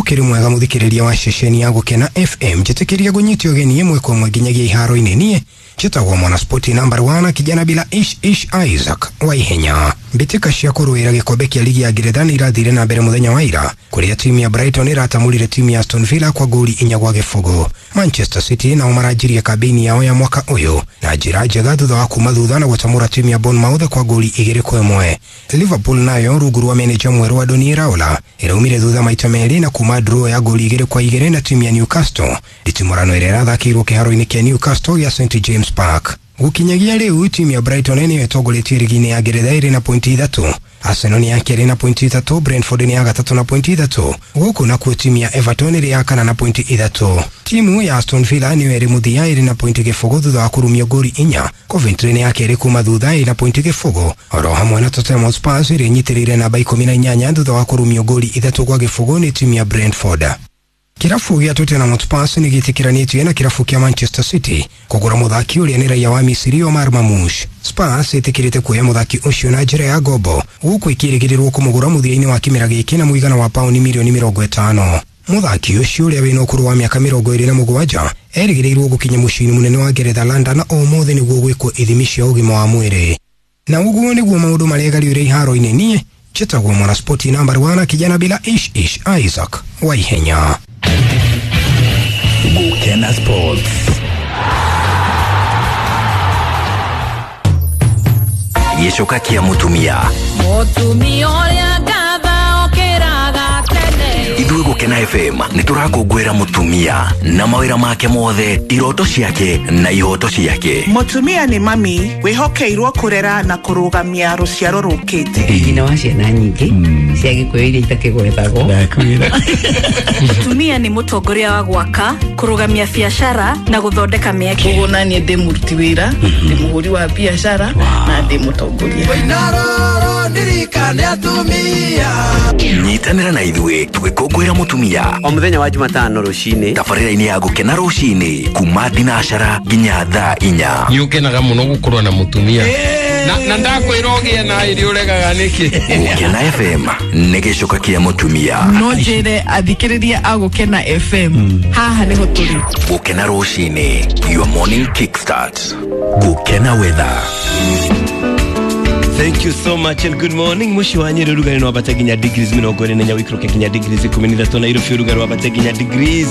Ũkĩrĩ mwega mũthikĩrĩria wa ceceni ya Gũkena FM, njĩtĩkĩria gũnyitio ũgeni ĩmwe kwa ĩmwe nginyagia iharo-inĩ. Niĩ njĩtagwo Mwanaspoti number 1, kijana bila ish ish, Isaac wa ihenya. Mbĩtĩka cia kũrũĩra gĩkombe kĩa ligi ya Ngeretha nĩ irathire na mbere mũthenya wa ira, kũrĩa timu ya Brighton ĩratamũrire timu ya Aston Villa kwa goli 4-0. Manchester City nao maranjirie kambĩini yao ya mwaka ũyũ na njĩra njega thutha wa kuma thutha na gũtamũra timu ya Bournemouth kwa goli 2-1. Liverpool nayo rungu rwa meneja mwerũ Andoni Iraola ĩraumire thutha maita merĩ na kuma draw ya goli 2-2 na timu ya Newcastle. Nditimũrano ĩrĩa ĩrathakĩirwo kĩharo-inĩ kĩa Newcastle gĩa St James Park. Gũkinyagia rĩu timu ya Brighton nĩyo ĩtongoretie ligi-inĩ ya Ngeretha ĩrĩ na pointi 3. Arsenal nĩ ya kerĩ na pointi 3, Brentford nĩ ya gatatũ na pointi 3. Gũkũ nakuo timu ya Everton ĩrĩ ya kana na pointi 3. Timu ya Aston Villa nĩyo ĩrĩ mũthia ĩrĩ na pointi 0 thutha wa kũrumio goli 4. Coventry nĩ ya kerĩ kuma thutha ĩrĩ na pointi 0. Oro hamwe na Tottenham Hotspur ĩrĩa ĩnyitĩrĩire namba 18 thutha wa kũrumio goli 3-0 nĩ timu ya Brentford. Kirabu gĩa Tottenham Hotspur nĩ gĩtĩkĩranĩtio na kirabu kĩa Manchester City kũgũra mũthaki ũrĩa nĩ raia wa Misiri Omar Marmoush. Spurs ĩtĩkĩrĩte kuoya mũthaki ũcio na njĩra ya ngombo, gũkũ ĩkĩrĩgĩrĩrwo kũmũgũra mũthia-inĩ wa kĩmera gĩkĩ na mũigana wa pauni mirioni 50. Mũthaki ũcio ũrĩa wĩna ũkũrũ wa mĩaka 27 erĩgĩrĩirwo gũkinya mũciĩ-inĩ mũnene wa Ngeretha London ũmũthĩ nĩguo gwĩkwo ithimi cia ũgima wa mwĩrĩ. Na ũguo nĩguo maũndũ maregariũre iharo-inĩ. Niĩ njĩtagwo Mwanaspoti number 1, kijana bila ish ish, Isaac wa ihenya. Gukena Sports. Gĩcoka kĩa mũtumia. Mũtumia ũrĩa ngatha okĩraga tene. Ithuĩ Gũkena FM nĩ tũrakũngũĩra mũtumia na mawĩra make mothe, iroto ciake na ihoto ciake. Mũtumia nĩ mami wĩhokeirwo kũrera na kũrũgamia rũciaro rũkĩte. Nyina wa ciana nyingĩ cia Gĩkũyũ iria itakĩgwetagwo. Mũtumia nĩ mũtongoria wa gwaka, kũrũgamia biacara na gũthondeka mĩeke. Koguo naniĩ ndĩ mũruti wĩra, ndĩ mũhũri wa biacara na ndĩ mũtongoria. Nyitanĩra na ithuĩ tũgĩkũngũĩra mũtumia o mũthenya wa Jumatano rũcinĩ, tabarĩra-inĩ ya Gũkena rũcinĩ kuma thinacara nginya thaa 4. Nĩ ũkenaga mũno gũkorwo na mũtumia na ndakwĩra ũgĩe na ĩrĩ ũregaga nĩkĩ. Gũkena FM nĩ gĩcoka kĩa mũtumia. No njĩre athikĩrĩria a Gũkena FM, haha nĩho tũrĩ. Gũkena rũcinĩ, your morning kickstart. Gũkena weather. Thank you so much and good morning. Mushi wa Nyeri rugari no wabate nginya degrees 44, wikroke nginya degrees 13, Nairobi rugari wabate nginya degrees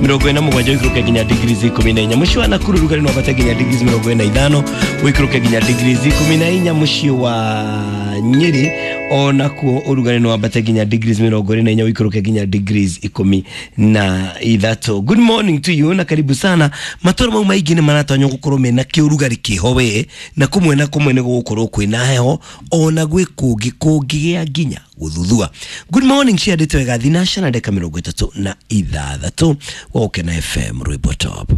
47, wikroke nginya degrees 14. Mushi wa Nakuru rugari no wabate nginya degrees 45, wikroke nginya degrees 14. Mushi wa Nyeri onakuo urugari no wabate nginya degrees 44, wikroke nginya degrees 13. Good morning to you na karibu sana. Matoro mau maingi ni maratanywo gukorwo mena kiurugari kiho we na kumwe na kumwe ni gugukorwo kwina heho ona gwĩ kũngĩ kũngĩgĩa nginya gũthuthua. Good morning ciandĩtwo wega thinaca na ndeka 36 wa Gũkena FM rwĩmbo top.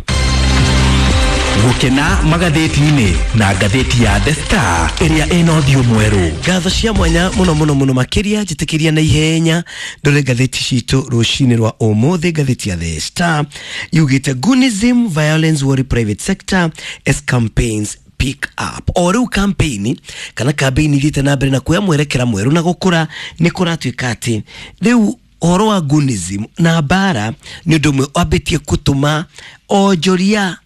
Gũkena magathĩti-inĩ na ngathĩti ya The Star ĩrĩa ĩna ũthiũ mwerũ. Ngatho cia mwanya mũno mũno mũno makĩria njĩtĩkĩria na ihenya ndore ngathĩti citũ rũcinĩ rwa ũmũthĩ. Ngathĩti ya The Star yugĩte Gunism violence worry private sector as campaigns pick up. O rĩu campaign kana campaign ithiĩte na mbere na kuoya mwerekera mwerũ na gũkũra nĩ kũratuĩka atĩ rĩu ũhoro wa Gunism na mbara nĩ ũndũ ũmwe wambĩtie gũtũma onjoria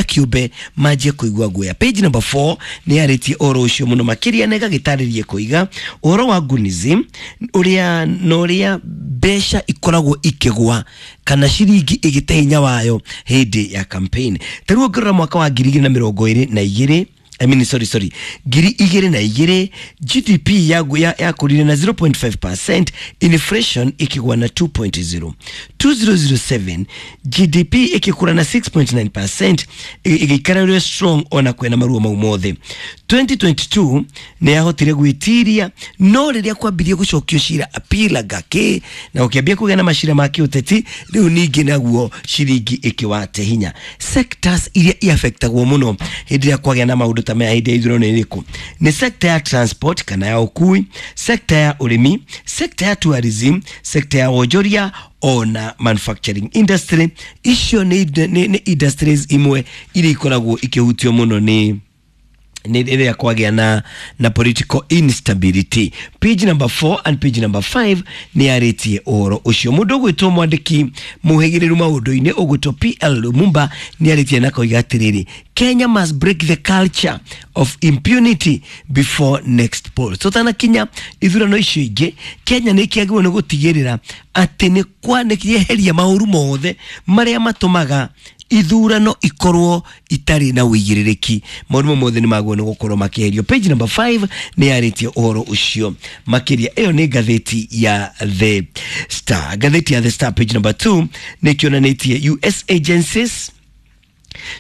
kĩũmbe manjie kũigua guoya. Page number 4 nĩ yarĩtie ũhoro ũcio mũno makĩria na ĩgagĩtarĩria kũiga ũhoro wa Gunism ũrĩa na ũrĩa mbeca ikoragwo ikĩgwa kana ciringi ĩgĩte hinya wayo hĩndĩ ya campaign. Ta rĩu ũngĩrora mwaka wa 2022 I mean sorry 2002 GDP yakũrire na 0.5%, inflation ikigwa na 2.0. 2007 GDP ikikura na 6.9%, igĩikara ĩrĩ strong ona kwĩna maruo mau mothe. 2022 nĩ yahotire gwĩtiria, no rĩrĩa kwambirie gũcokio cira appeal gake na gũkĩambia kũgĩa na macira ma kĩũteti, rĩu ningĩ naguo ciringi ĩkĩwate hinya. Sectors iria iaffectagwo mũno hĩndĩ ĩrĩa kwagĩa na maũndũ ta maya hĩndĩ ya ithurano nĩ ĩrĩkũ? Nĩ sector ya transport kana ya ũkui, sector ya ũrĩmi, sector ya tourism, sector ya wonjoria ona manufacturing industry. Icio nĩ industries imwe iria ikoragwo ikĩhutio mũno nĩ Nĩ rĩrĩa kwagĩa na political instability. Page number 4 and page number 5 nĩ yarĩtie ũhoro ũcio. Mũndũ ũgwĩtwo mwandĩki mũhĩgĩrĩru maũndũ-inĩ ũgwĩtwo PL Lumumba nĩ arĩtie na koiga atĩrĩrĩ, Kenya must break the culture of impunity before next polls. Tũtanakinya ithurano icio ingĩ, Kenya nĩ kĩagĩrĩirwo nĩ gũtigĩrĩra atĩ nĩ kwa nĩ kĩeheria maũru mothe marĩa matũmaga ithurano ikorwo itarĩ na ũigĩrĩrĩki. Maũndũ mothe nĩ magwo nĩ gũkorwo makĩeherio. Page number 5 nĩ yarĩtie ũhoro ũcio makĩria. Ĩyo nĩ ngathĩti ya The Star. Ngathĩti ya The Star page number 2 nĩ kĩonanĩtie US agencies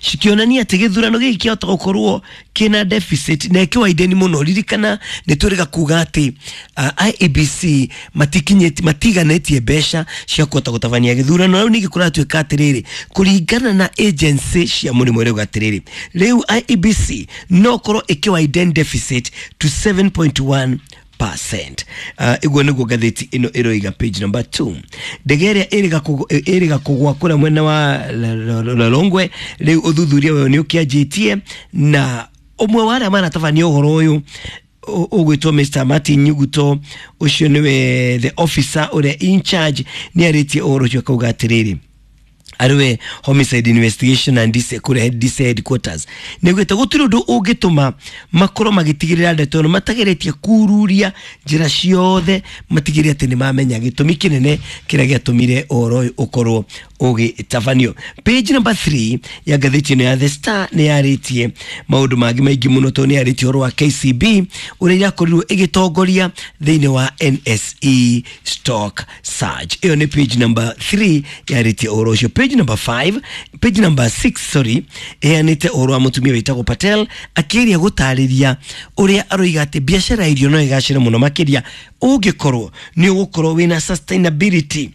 cikĩonania atĩ gĩthurano gĩkĩ kĩahota gũkorwo kĩna deficit na ĩkĩwaideni mũno. Ririkana nĩ twĩrĩga kuga atĩ IEBC matikinyĩtie matiganĩtie mbeca cia kũhota gũtabania gĩthurano. Rĩu ningĩ kũratuĩka atĩrĩrĩ, kũringana na agency cia mũrĩmo rĩu atĩrĩrĩ, rĩu IEBC no korwo ĩkĩwaiden deficit to 7.1%. Iguo nĩguo ngathĩti ĩno ĩroiga page number 2. Ndege ĩrĩa ĩrĩga kũgwa kũrĩa mwena wa Lolongwe, rĩu ũthuthuria wayo nĩ ũkĩanjĩtie, na ũmwe wa arĩa maratabania ũhoro ũyũ ũgwĩtwo Mr Martin Nyuguto, ũcio nĩwe the officer ũrĩa in charge, nĩ arĩtie ũhoro ũcio akauga atĩrĩrĩ, ariwe homicide investigation and DC kũrĩa DC headquarters nĩguĩte gũtirĩ ũndũ ũngĩtũma makorwo magĩtigĩrĩra ndeto ĩno matageretie kururia njĩra ciothe matigĩrĩre atĩ nĩ mamenya gĩtũmi kĩnene kĩrĩa gĩatũmire ũhoro ũyũ ũkorwo ũgĩtabanio. Page number 3 ya ngathĩti ĩno ya The Star nĩ yarĩtie maũndũ mangĩ maingĩ mũno, tondũ nĩ yarĩtie ũhoro wa KCB ũrĩa irakorirwo ĩgĩtongoria thĩinĩ wa NSE stock surge. Ĩyo nĩ page number 3 yarĩtie ũhoro ũcio. Page number 5, page number 6 sorry, ĩheanĩte ũhoro wa mũtumia wĩtagwo Patel akĩgeria gũtarĩria ũrĩa aroiga atĩ biacara ya irio no ĩgacĩre mũno makĩria ũngĩkorwo nĩ ũgũkorwo wĩna sustainability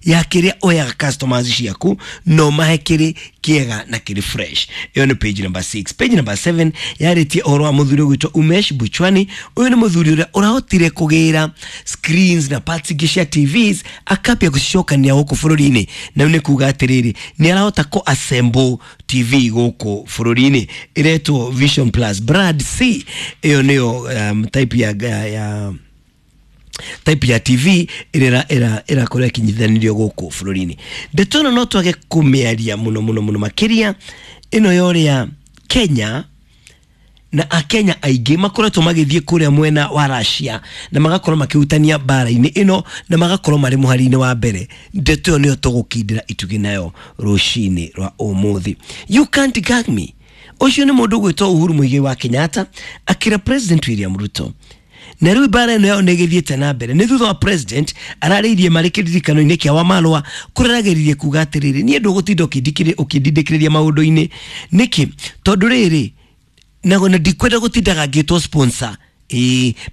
ya kĩrĩa oyaga customers ciaku no mahe kĩrĩ kĩega na kĩrĩ fresh. Ĩyo nĩ page number 6. Page number 7 yarĩtie ũhoro wa mũthuri ũgwĩtwo Umesh Buchwani. Ũyũ nĩ mũthuri ũrĩa ũrahotire kũgĩra screens na parts ingĩ cia TVs akambia gũcicokania gũkũ bũrũri-inĩ, na nĩ kuga atĩrĩrĩ, nĩ arahota kũ assemble TV gũkũ bũrũri-inĩ ĩretwo Vision Plus Brand C. Ĩyo nĩyo type ya type ya TV ĩrĩa ĩrakorwo ĩkinyithanĩrio gũkũ bũrũri-inĩ. Ndeto ĩno no twage kũmĩaria mũno mũno mũno makĩria, ĩno ya ũrĩa Kenya na akenya aingĩ makoretwo magĩthiĩ kũrĩa mwena wa Russia na magakorwo makĩhutania mbara-inĩ ĩno na magakorwo marĩ mũhari-inĩ wa mbere. Ndeto ĩyo nĩyo tũgũkindĩra itugĩ nayo rũcinĩ rwa ũmũthĩ. You can't gag me. Ũcio nĩ mũndũ ũgwĩtwo Uhuru Muigai wa Kenyatta akĩra President William Ruto. Na rĩu mbara ĩno yao nĩ ĩgĩthiĩte na mbere. Nĩ thutha wa president ararĩirie marĩ kĩririkano-inĩ kĩa Wamalwa kũrĩa arageririe kuga atĩrĩrĩ, niĩ ndũgũtinda ũkĩndindĩkĩrĩria maũndũ-inĩ. Nĩkĩ? Tondũ rĩrĩ na ndikwenda gũtindaga ngĩtwo sponsor.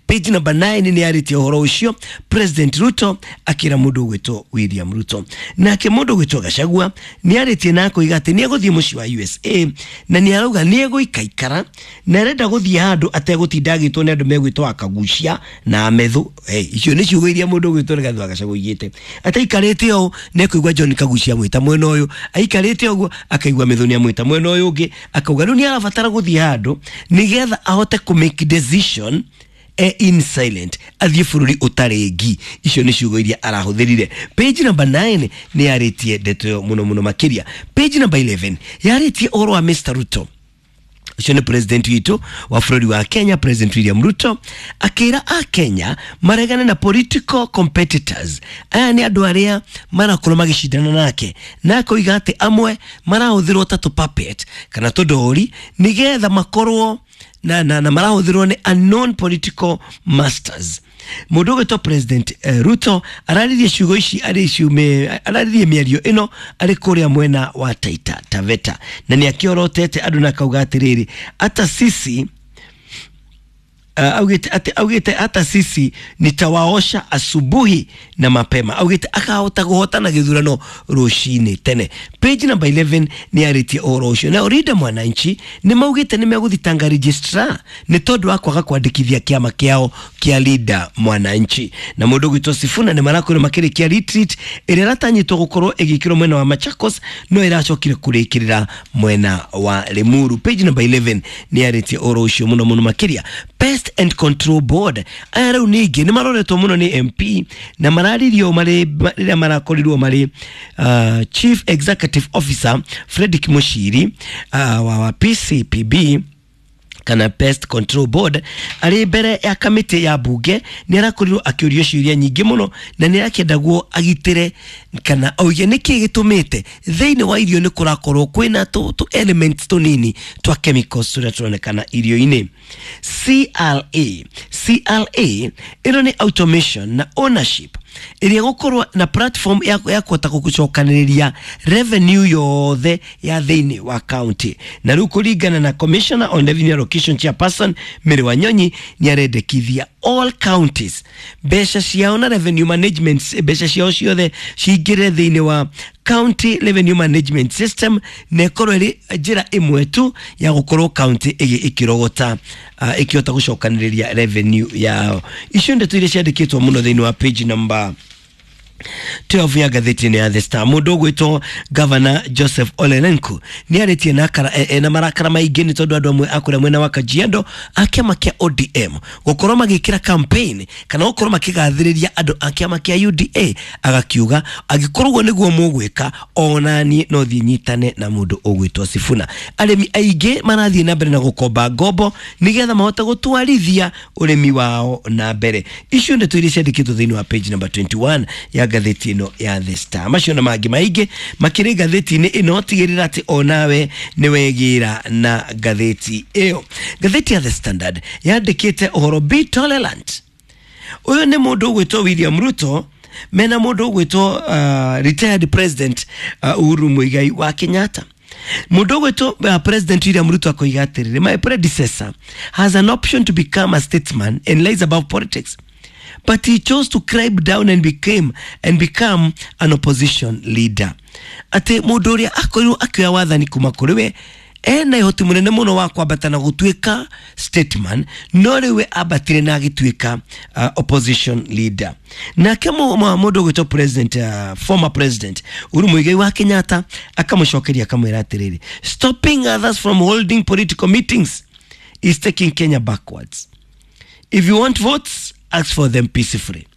Page number 9 nĩ yarĩtie ũhoro ũcio President Ruto akĩra mũndũ ũgwĩtwo William Ruto. Nake mũndũ ũgwĩtwo Gachagua nĩ arĩtie na akoiga atĩ nĩ egũthiĩ mũciĩ wa USA na nĩ arauga nĩ egũikaikara na arenda gũthiĩ handũ ategũtinda agĩtwo nĩ andũ megwĩtwo akagucia na amethu. Icio nĩ ciugo iria mũndũ ũgwĩtwo Rigathi wa Gachagua oigĩte. Ataikarĩte ũũ nĩ ekũigua John Kagucia amwĩta mwena ũyũ, aikarĩte ũguo akaigua Methu nĩ amwĩta mwena ũyũ ũngĩ, akauga rĩu nĩ arabatara gũthiĩ handũ nĩgetha ahote kũ make decision in silent athiĩ bũrũri ũtarĩ ngi. Icio nĩ ciugo iria arahũthĩrire. Page number 9 nĩ yarĩtie ndeto ĩyo mũno mũno makĩria. Page number 11 yarĩtie ũhoro wa Mr Ruto. Ũcio nĩ president witũ wa bũrũri wa Kenya, President William Ruto akĩra a Kenya maregane na political competitors. Aya nĩ andũ arĩa marakorwo magĩcindana nake, na akoiga atĩ amwe marahũthĩrwo ta tũ puppet kana tũndori nĩgetha makorwo na marahũthĩrwo nĩ unknown political masters. Mũndũ ũgwĩtwo President Ruto araririe ciugo ici araririe mĩario ĩno arĩ kũrĩa mwena wa Taita Taveta, na nĩ akĩorotete andũ na akauga atĩrĩrĩ, ata sisi Augite ati augite hata sisi nitawaosha asubuhi na mapema. Augite akahota guhotana githurano rucini tene. Page number 11 ni aritie uhoro ucio. Na Linda Mwananchi ni maugite ni meguthitanga registrar ni tondu wa kwaga kwandikithia kiama kiao kia Linda Mwananchi. Na mundu gwitwo Sifuna ni marakwirwo makirikia retreat ĩrĩa ĩratanyĩtwo gũkorwo ĩgĩkĩrwo mwena wa Machakos no ĩracokire kũrĩkĩrĩra mwena wa Limuru. Page number 11 ni arĩtie ũhoro ũcio mũno mũno makĩria. Pest and Control Board aya rĩu ningĩ nĩ maroretwo mũno nĩ MP na mararirio marĩ rĩrĩa marakorirwo marĩ Chief Executive Officer Fredrick Mushiri wa PCPB kana Pest Control Board arĩ mbere ya kamĩtĩ ya bunge. Nĩ arakorirwo akĩũrio ciũria nyingĩ mũno na nĩ arakĩendagwo agitĩre kana auge nĩkĩ gĩtũmĩte thĩinĩ wa irio nĩ kũrakorwo kwĩna tũ elements tũnini twa chemicals tũrĩa tũronekana irio-inĩ. CRA ĩno nĩ automation na ownership ĩrĩa gũkorwo na platform ya kũhota gũcokanĩrĩria revenue yothe ya thĩinĩ wa county. Na rĩu kũringana na Commissioner on Revenue Allocation Chairperson Mary Wanyonyi nĩ arendekithia all counties mbeca ciao na revenue management, mbeca ciao ciothe cingĩre thĩinĩ wa county revenue management system na ĩkorwo ĩrĩ njĩra ĩmwe tu ya gũkorwo county ĩkĩrogota ĩkĩhota gũcokanĩrĩria revenue yao. Icio ndeto iria ciandĩkĩtwo mũno thĩinĩ wa page number 12 ya ngathĩti-inĩ ya The Star. Mũndũ ũgwĩtwo Governor Joseph Ole Lenku nĩ arĩtie na marakara maingĩ nĩ tondũ andũ amwe a kũrĩa mwena wa Kajiado a kĩama kĩa ODM gũkorwo magĩkĩra campaign kana gũkorwo makĩgathĩrĩria andũ a kĩama kĩa UDA, agakiuga angĩkorwo ũguo nĩguo mũgwĩka ona niĩ no thiĩ nyitane na mũndũ ũgwĩtwo Sifuna. Arĩmi aingĩ marathiĩ na mbere na gũkomba ngombo nĩgetha mahote gũtwarithia ũrĩmi wao na mbere. Icio ndeto iria ciandĩkĩtwo thĩinĩ wa page number 21 ya ngathĩti ĩno ya The Star. Macio na mangĩ maingĩ makĩrĩ ngathĩti-inĩ ĩno, tigĩrĩra atĩ onawe nĩ wegĩra na ngathĩti ĩyo. Ngathĩti ya The Standard yandĩkĩte ũhoro be tolerant. Ũyũ nĩ mũndũ ũgwĩtwo William Ruto mena mũndũ ũgwĩtwo retired president Uhuru Muigai wa Kenyatta. Mũndũ ũgwĩtwo President William Ruto akoiga atĩrĩrĩ, my predecessor has an option to become a statesman and lies above politics, but he chose to climb down and become an opposition leader. Ati mũndũ ũrĩa akorirwo akĩoya wathani kuma kũrĩ we ena ihoti mũnene mũno wa kwambata na gũtuĩka statesman, no rĩu we ambatire na agĩtuĩka opposition leader. Nake mũndũ ũgwĩtwo president, former president Uhuru Muigai wa Kenyatta akamũcokeria akamwĩra atĩrĩrĩ, stopping others from holding political meetings is taking Kenya backwards. If you want votes, ask for them peacefully.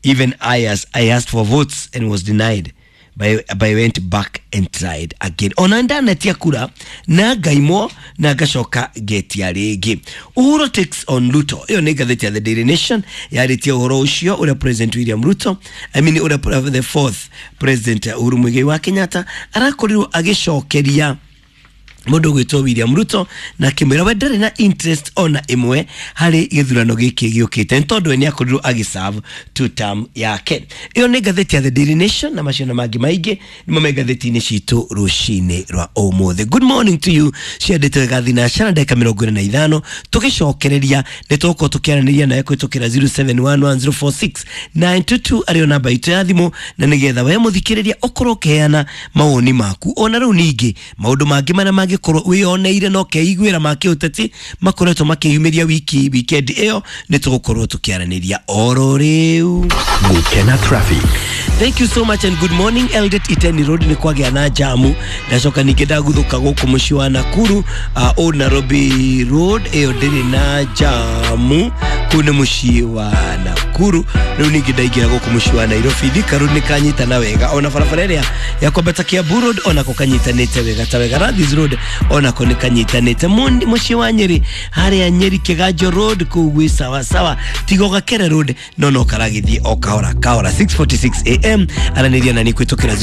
Even I asked for votes and was denied. But I went back and tried again. Ona ndanetia kura na ngaimwo na ngacoka ngetia rĩngĩ. Uhuru takes on Ruto. Ĩyo nĩ ngathĩti ya The Daily Nation yarĩtie ũhoro ũcio ũrĩa President William Ruto, I mean ũrĩa the fourth President Uhuru Muigai wa Kenyatta arakorirwo agĩcokeria mũndũ ũgwĩtwo William Ruto na akĩmwĩra we ndarĩ na interest ona ĩmwe harĩ gĩthurano gĩkĩ gĩũkĩte nĩ tondũ we nĩ akorirwo agĩserve two term yake. Ĩyo nĩ ngathĩti ya The Daily Nation na macio na mangĩ maingĩ nĩmo me ngathĩti-inĩ citũ rũcinĩ rwa ũmũthĩ. Good morning to you. Ciandĩtwo thinashara ndagĩka 45 tũgĩcokereria nĩ tũgũkorwo tũkĩaranĩria nawe kũhĩtũkĩra 0711046922 arĩyo namba itũ ya thimũ, na nĩgetha we mũthikĩrĩria ũkorwo ũkĩheana mawoni maku ona rĩu ningĩ maũndũ mangĩ marĩa mangĩ korwo wĩyoneire no keiguĩra ma kĩũteti makoretwo makĩyumĩria weekend ĩyo nĩ tũgũkorwo tũkĩaranĩria oro rĩu. Gukena traffic. Thank you so much and good morning. Eldoret Iteni Road nĩ kwagĩa na jamu, ndacoka ningĩ ndaguthũka gũkũ mũciĩ wa Nakuru. Old Nairobi Road ĩyo ndĩrĩ na jamu, kũu nĩ mũciĩ wa Nakuru. Rĩu ningĩ ndaingĩra gũkũ mũciĩ wa Nairobi, Thika Road nĩ kanyitana wega, ona barabara ĩrĩa ya kwambata Kiambu Road onako kanyitanĩte wega ta wega. Radhis Road onako nĩ kanyitanĩte. Mũciĩ wa Nyeri harĩa Nyeri Kiganjo Road kũu gwĩ sawa sawa. Tigo Gakere Road no karagĩthiĩ o kahora kahora. 6:46 am aranĩria na nĩ kwĩtũkĩra